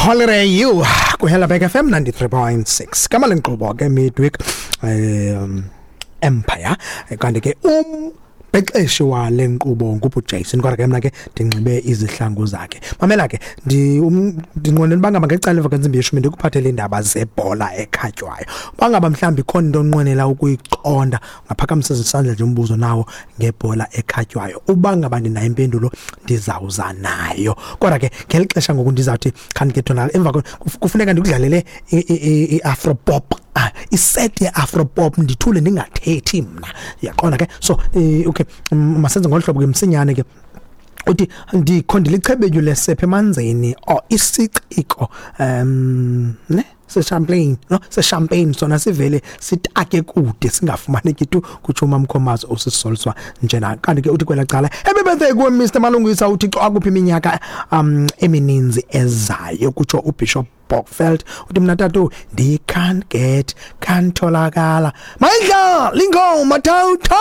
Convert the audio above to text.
Holiday You kuHelabek FM 93.6 kama lenkqubo ke midweek Empire. Kanti ke umbhexeshi wale nkqubo ngubu Jason, kodwa ke mna ke ndinxibe izihlangu zakhe. Mamela ke, ndinqwenela uba ngaba ngecala emva kwentsimbi yeshumi ndikuphathele iindaba zebhola ekhatywayo. Uba ngaba mhlawumbi ikhona into onqwenela ukuyiqonda, ungaphakamisa isandla nje, umbuzo nawo ngebhola ekhatywayo. Uba ngaba ndinayo impendulo, ndizawuza nayo. Kodwa ke ngeli xesha ngoku ndizawuthi khanike thona emva kufuneka ndikudlalele i-afro pop, iset ye-afro pop, ndithule ndingathethi mna, uyaqonda ke? So okay, masenze ngolu hlobo ke msinyane ke. Uthi ndikho ndilichebetyu lesephe emanzini or isiciko ne sechampagne, no, sechampagne sona sivele sitake kude singafumaneki tu, kutsho uMamkhomazi osisoliswa njena. Kanti ke uthi kwela cala, happy birthday kuwe Mr Malungisa, uThixo akuphi iminyaka emininzi ezayo, kutsho uBishop Bokfeld. Uthi mna tatu ndi can't get kantholakala mayidlala ingoma tawutho.